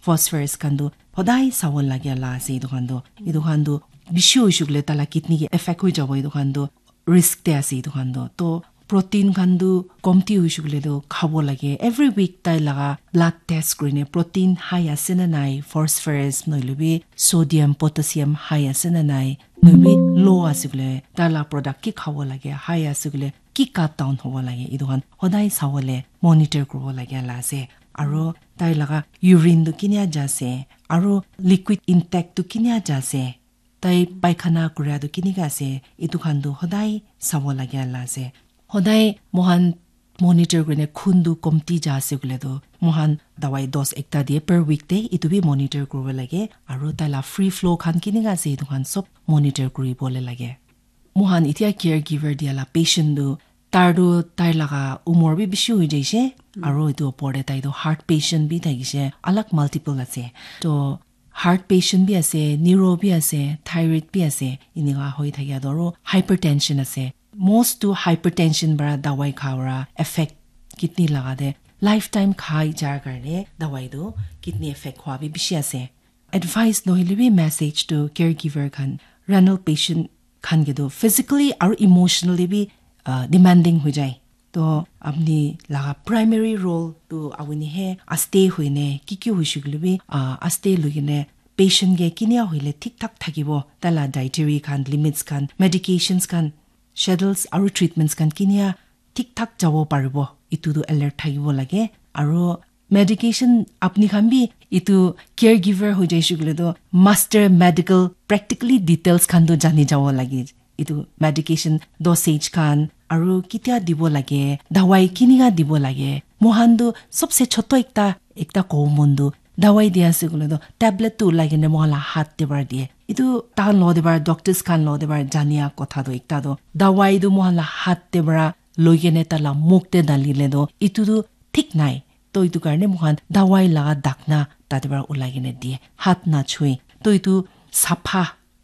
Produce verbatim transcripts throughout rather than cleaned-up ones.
phosphorus khan tu hodai sabo lage la ase. Etu khan tu, etu khan tu bishi hoishe koile taila kidney ke affect hoi jabo. Etu khan tu risk te ase etu khan tu. To protein khan tu komti hoishe koile tu khabo lage. Every week tai laga blood test kurine protein high ase na nai, phosphorus nohoile bi sodium, potassium high ase na nai, nohoile bi low ase koile tai la product ki khabo lage, high ase koile ki cut down hobo lage, etu khan hodai sawole monitor kuribo lage la ase. Aro tai laga urine tu kinia ja ase, aro liquid intake tu kinia ja ase, tai paikhana kuria tu kinika ase, etu khan tu hodai sabo lage la ase. Hodai mohan monitor kurine khun tu komti ja ase koile tu mohan dawai dose ekta diye per week te, etu bi monitor kuribo lage. Aro tai la free flow khan kinika ase, etu khan sob monitor kuribole lage. Mohan etia caregiver dia la patient tu, tar tu tai laga umor bi bishi hoi jaise, aro etu opor te tai tu heart patient bi thakise, alag multiple ase. To heart patient bi ase, neuro bi ase, thyroid bi ase, enika hoi thakia tu aro hypertension ase. Most tu hypertension para dawai kha para effect kidney laga te lifetime khai jar karne dawai tu kidney effect hua bi bishi ase. Advice nohoile bi message tu caregiver khan, renal patient khan ke tu physically aru emotionally bi, uh, demanding hoi jai. To apni laga primary role tu apni he aste hoine ki ki hoishe koile bi, uh, aste loikene patient ke kinia hoile thik thak thakibo, tai la dietary khan, limits khan, medications khan, schedules aru treatments khan kinia thik thak jabo paribo, etu tu alert thakibo lage. Aru medication apni khan bi etu caregiver hoi jaise koile tu master medical practically details khan tu jani jabo lage. Etu medication dosage khan aru kitia dibo lage, dawai kinika dibo lage. Mohan tu sobse choto ekta, ekta kobo mon tu dawai dia ase koile tu tablet tu ulai kene mohan la hat te para diye. Etu tahan lo te para doctors khan lo te para jania kotha tu ekta tu dawai tu mohan la hat te para loi kene tai la muk te dali le tu etu tu thik nai. To etu karne moikhan dawai laga dakna tate para ulai kene diye, hat na chue. To etu sapha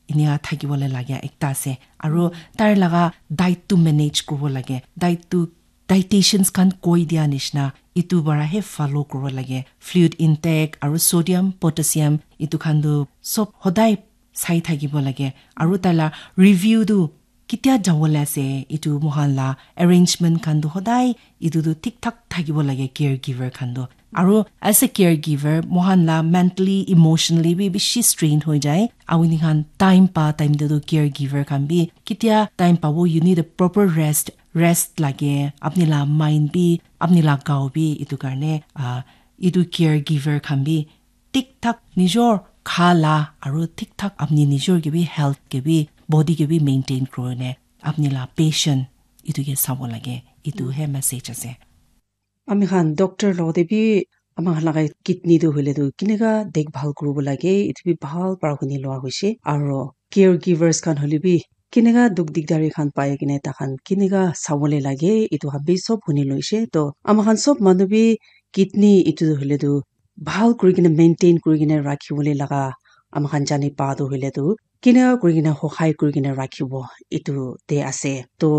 enika thakibole lagia ekta ase. Aru tai laga diet tu manage kuribo lage. Diet tu dietitians khan koi dia nishina etu para he follow kuribo lage. Fluid intake aru sodium, potassium etu khan tu sob hodai sai thakibo lage. Aru tai la review tu kitia jawole ase, etu moikhan la arrangement khan tu hodai etu tu thik thak thakibo lage caregiver khan tu. Aru as a caregiver, moikhan la mentally, emotionally bi bishi strain hoi jai. Apni khan time pa time te tu caregiver khan bi kitia time pabo, you need a proper rest. Rest lage, apni la mind bi, apni la gao bi, etu karne, ah, etu caregiver khan bi thik thak nijor kha la aru thik thak apni nijor ke bi health ke bi body ke bi maintain kurine apni la patient etu ke sabo lage. Etu he message ase. Ami khan doctor lo te bi ama khan laga kidney tu hoile tu kinika dekbhal kuribo lage, etu bi bhal para huni loa hoise. Aro caregivers khan hoile bi kinika duk dikdari khan pai kene takhan kinika sabole lage, etu khan bi sob huni loise. To ama khan sob manu bi kidney etu tu hoile tu bhal kuri kene maintain kuri kene rakhi bole laga ama khan jani pa tu hoile tu kinika kuri kene hohai kuri kene rakhibo etu te ase. To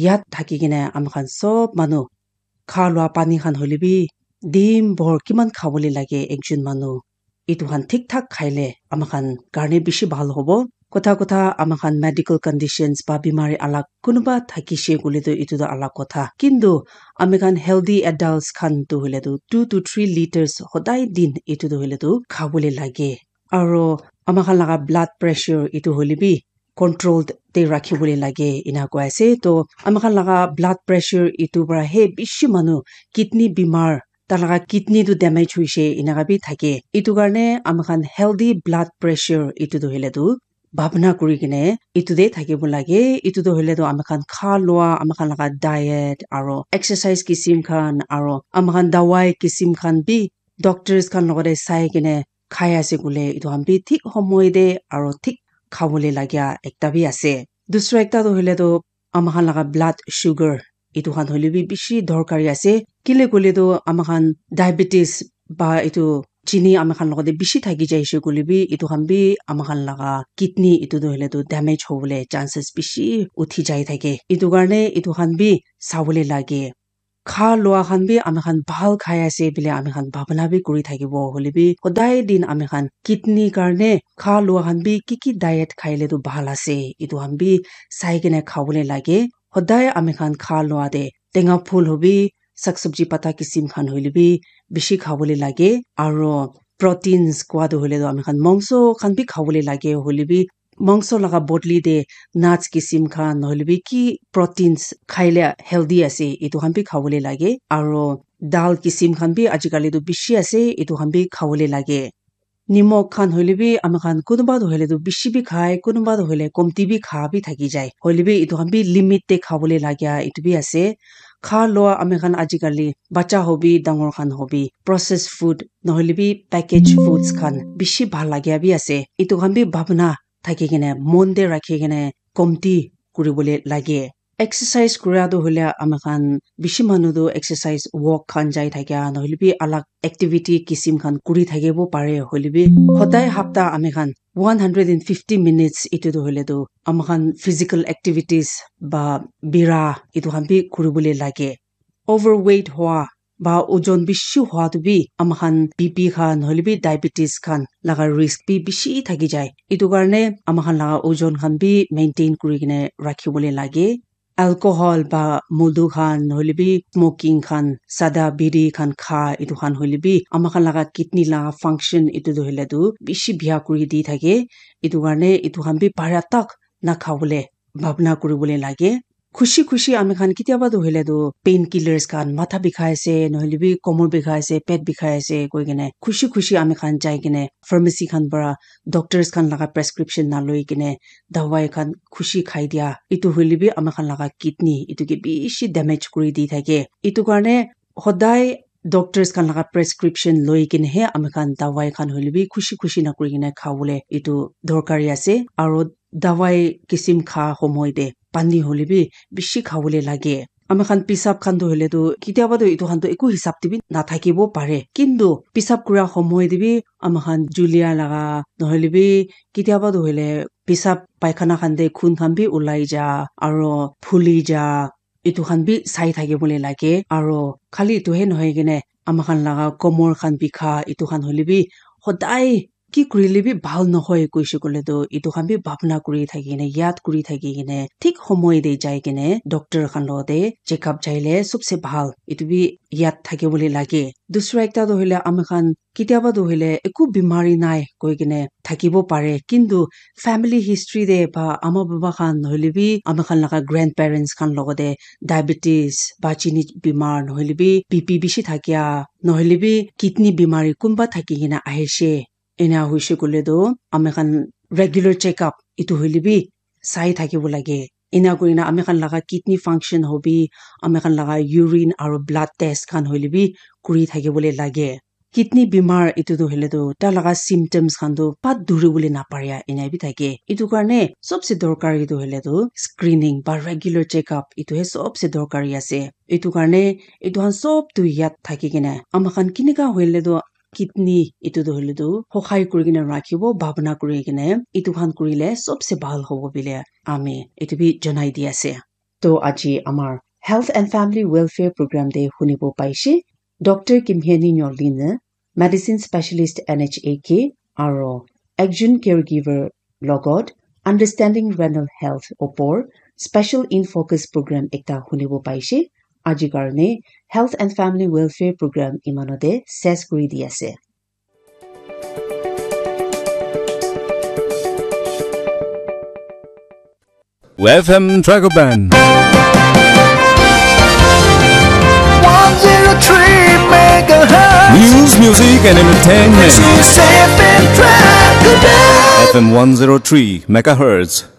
yat thaki kene ama khan sob manu kha lua pani khan hoile bi din bhor kiman khabole lage ekjon manu, etu khan thik thak khaile ama khan karne bishi bhal hobo. Kotha kotha ama khan medical conditions ba bimari alak kunuba thakishe koile tu etu tu alak kotha. Kintu ami khan healthy adults khan tu hoile tu two to three liters hodai din etu tu hoile tu khabole lage. Aro ama khan laga blood pressure etu hoile bi control te rakhi bole lage ena koi ase. To ama khan laga blood pressure etu para he bishi manu kidney bimar, tai laga kidney tu damage hoise enaka bi thake. Etu karne ama khan healthy blood pressure etu tu hoile tu bhabna kuri kene etu te thakibo lage. Etu tu hoile tu ama khan kha lua, ama khan laga diet aro exercise kisim khan aro ama khan dawai kisim khan bi doctors khan logote sai kene khai ase koile etu khan bi thik homoi te aro thik khabole lagia ekta bi ase. Dusra ekta tu hoile tu ama khan laga blood sugar etu khan hoile bi bishi dorkari ase. Kile koile tu ama khan diabetes ba etu chini ama khan logote bishi thaki jaise koile bi etu khan bi ama khan laga kidney etu tu hoile tu damage hobole chances bishi uthi jai thake. Etu karne etu khan bi sabole lage. kha lua khan bi ami khan bhal khai ase bile ami khan bhabna bi kuri thakibo. Hoile bi hodai din ami khan kidney karne kha lua khan bi ki ki diet khaile tu bhal ase, etu khan bi sai kene khabole lage. Hodai ami khan kha lua te tenga phul hobi, sak sabji pata kisim khan hoile bi bishi khabole lage. Aro proteins kwa tu hoile tu ami khan mangso khan bi khabole lage. Hoile bi mangso laga bodli te nuts kisim khan nohole bi ki proteins khaile healthy ase, etu khan bi khabole lage. Aro dal kisim khan bi ajikali tu bishi ase, etu khan bi khabole lage. Nimok khan hoile bi ami khan kunuba tu hoile tu bishi bi khai, kunuba tu hoile komti bi kha bi thaki jai. Hoile bi etu khan bi limit te khabole lage, etu bi ase. Kha lua ami khan ajikali bacha hobi, dangor khan hobi, processed food nohole bi package foods khan bishi bhal lage bi ase. Etu khan bi bhabna thaki kene, mon te rakhi kene komti kuribole lage. Exercise kura tu hoile ami khan bishi manu tu exercise walk khan jai thakia nohole bi alag activity kisim khan kuri thakibo pare. Hoile bi hodai hapta ami khan one hundred and fifty minutes etu tu hoile tu ami khan physical activities ba bira etu khan bi kuribole lage. Overweight hua ba ojon bishi hua tu bi ami khan B P khan nohole bi diabetes khan laga risk bi bishi thaki jai. Etu karne ami khan laga ojon khan bi maintain kuri kene rakhibole lage. Alcohol ba modu khan nohole bi smoking khan, sada biri khan kha, etu khan hoile bi ami khan laga kidney laga function etu tu hoile tu bishi bia kuri di thake. Etu karne etu khan bi para tak na khabole bhabna kuribole lage. Khushi khushi ami khan kitiaba tu hoile tu painkillers khan, matha bikhai ase nohole bi komor bikhai ase, pet bikhai ase koi kene khushi khushi ami khan jai kene pharmacy khan para doctors khan laga prescription na loi kene dawai khan khushi khai dia, etu hoile bi ami khan laga kidney etu ke bishi damage kuri di thake. Etu karne hodai doctors khan laga prescription loi kene he ami khan dawai khan hoile bi khushi khushi na kuri kene khabole etu dorkari ase. Aro dawai kisim kha homoi te pani hoile bi bishi khabole lage. Ami khan pisap khan tu hoile tu kitiaba tu etu khan tu eku hisab te bi na thakibo pare, kintu pisap kura homoi te bi ami khan julia laga nohole bi kitiaba tu hoile pisap paikhana khan te khun khan bi ulai ja aro phuli ja, etu khan bi sai thakibole lage. Aro khali etu he nohoi kene ami khan laga komor khan bikha etu khan hoile bi hodai ki kurile bi bhal nohoi koishe koile tu etu khan bi bhabna kuri thaki kene, yad kuri thaki kene, thik homoi te jai kene doctor khan lo te checkup jaile sobse bhal, etu bi yad thakibole lage. Dusra ekta tu hoile ami khan kitiaba tu hoile eku bimari nai koi kene thakibo pare, kintu family history te ba ama baba khan nohole bi ami khan laga grandparents khan logote diabetes ba chini bimar nohole bi B P bishi thakia nohole bi kidney bimari kunba thaki kena ahishe. Ena hoishe koile tu ami khan regular checkup etu hoile bi sai thakibo lage. Ena kurina ami khan laga kidney function hobi, ami khan laga urine aro blood test khan hoile bi kuri thakibole lage. Kidney bimar etu tu hoile tu tai laga symptoms khan tu pat duri bole na paria ena bi thake. Etu karne sobse dorkari tu hoile tu screening ba regular checkup etu he sobse dorkari ase. Etu karne etu khan sob tu yad thaki kene ami khan kinika hoile tu kidney etu tu hoile tu hokhai kuri kene rakhibo bhabna kuri kene etu khan kurile sobse bhal hobo bile ami etu bi janai di ase. To aji amar Health and Family Welfare Program te hunibo paishe, Doctor Kimheni Nyolin, Medicine Specialist N H A K, aro ekjon caregiver logot Understanding Renal Health opor Special in Focus Program ekta hunibo paishe. Aji karne Health and Family Welfare Program imanote ses kuri di ase. F M Dragon Band. One zero three megahertz. News, music, and entertainment. This is F M Dragon Band. F M one zero three megahertz.